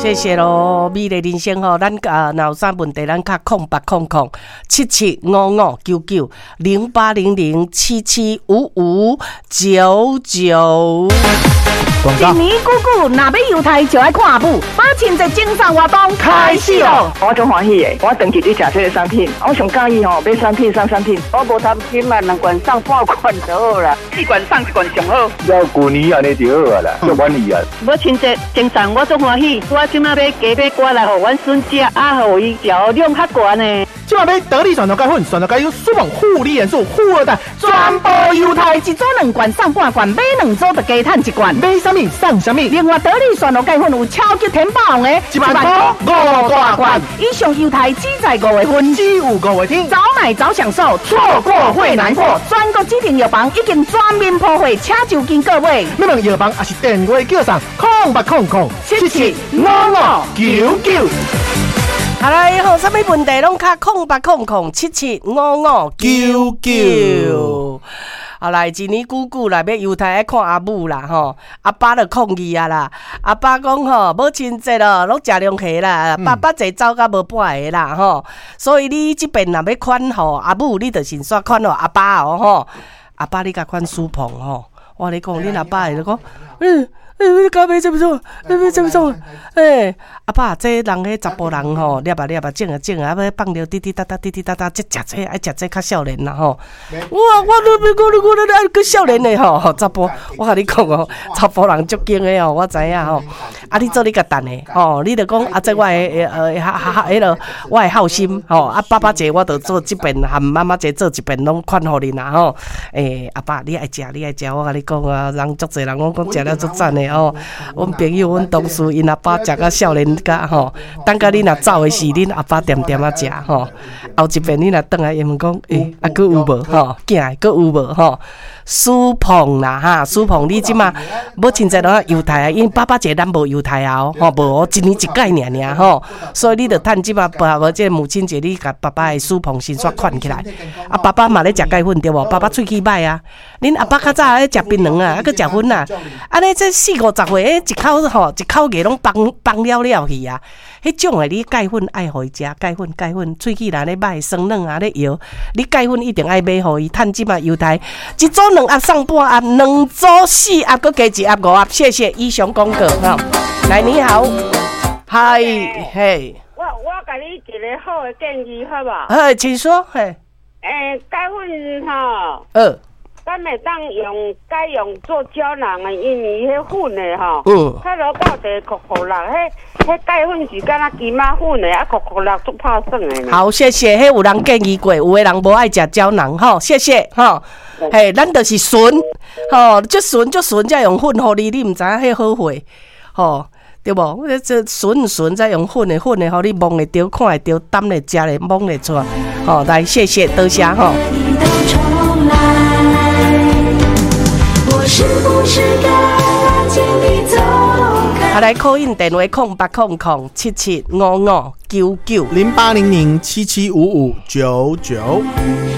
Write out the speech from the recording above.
謝謝囉，美麗人生吼，咱啊，若有啥問題，咱敲08007755990800775599。一年久久，若欲猶太就愛看阿母。母親節贈送活動開始囉！我足歡喜的，我長期佇食這个產品，我上佮意吼買產品送產品。我無貪心啊，兩罐送半罐就好啦，四罐送一罐上好。了舊年按呢就好啊啦，足滿意啊。母親節贈送我足歡喜，我這馬買雞買肝來予阮孫食，啊，予伊食量較懸呢。這馬買得力蒜頭鈣粉、蒜頭鈣油、舒夢護理元素、富二代，全部猶太一組兩罐送半罐，買兩組就加趁一罐。買啥物送啥物。另外得力蒜頭鈣粉有超級填飽王的，1萬塊五大罐。以上猶太只在5月份，只有5月天，早買早享受，錯過會難過。全國指定藥房已經全面鋪貨，請就近購買。欲問藥房抑是電話叫送0800775599。好來，吼，啥物問題攏敲0800775599。好來，一年久久啦，欲猶太愛看阿母啦，吼，阿爸就抗議啊啦。阿爸講吼，母親節咯，攏食龍蝦啦，爸爸坐走甲無半个啦，吼。所以你這遍若欲款予阿母，你就先煞款予阿爸哦，吼。阿爸你共款蘇鵬吼，我共你講，恁阿爸會講，嗯。欸，你敢買這麼重？你買這麼重？欸，阿爸，這人彼查埔人吼，掠啊掠啊，種啊種啊，啊欲放尿滴滴答答，滴滴答答，這食這愛食這較少年啦吼。我我我我我愛閣少年的吼，查埔，我共你講哦，查埔人足堅的哦，我知影吼。啊，你做你共等的吼，你就講啊，這我的哈哈，彼个我的孝心吼。啊，爸爸節我就做這遍，和媽媽節做一遍，攏款予恁啦吼。欸，阿爸，你愛食，你愛食，我共你講啊，人足濟人攏講食了足讚的吼。阮朋友、阮同事，𪜶阿爸食甲少年甲吼，等甲你若走的時，恁阿爸恬恬仔食吼。後一遍你若轉來，伊問講，欸，啊，閣有無吼？囝閣有無吼？蘇鵬啦哈，蘇鵬，你這馬母親節攏猶太啊，因為爸爸節咱無猶太啊，吼無哦，一年一擺爾爾吼，所以你著趁這馬無這母親節，你共爸爸的蘇鵬先煞款起來。啊，爸爸嘛咧食鈣粉對無？爸爸喙齒歹啊，恁阿爸較早咧食檳榔啊，啊閣食粉啊，按呢這四五十歲，一口吼一口牙攏崩崩了了去啊。彼種的你鈣粉愛予伊食，鈣粉鈣粉，喙齒若咧歹酸軟啊咧搖，你鈣粉一定愛買予伊。趁這馬猶太一組兩盒送半盒，兩組四盒，閣加一盒五盒。謝謝以上廣告吼。來，你好，嗨嘿。我共你一个好的建議，好無？好，請說。嘿。欸，鈣粉吼。咱會當用改用做膠囊的，因為彼粉的吼，較落到地酷酷落，彼鈣粉是敢若金仔粉的，啊酷酷落足拍耍的。好，謝謝。彼有人建議過，有的人無愛食膠囊，吼，謝謝，吼。嘿，咱就是純，吼，足純足純，才用粉予你，你毋知影彼好貨，吼，對無？這純純才用粉的，粉的，予你摸會著、看會著、擔咧、食咧、摸會出來，吼，來，謝謝，多謝，吼。啊，來 call in 電話08007755990800775599。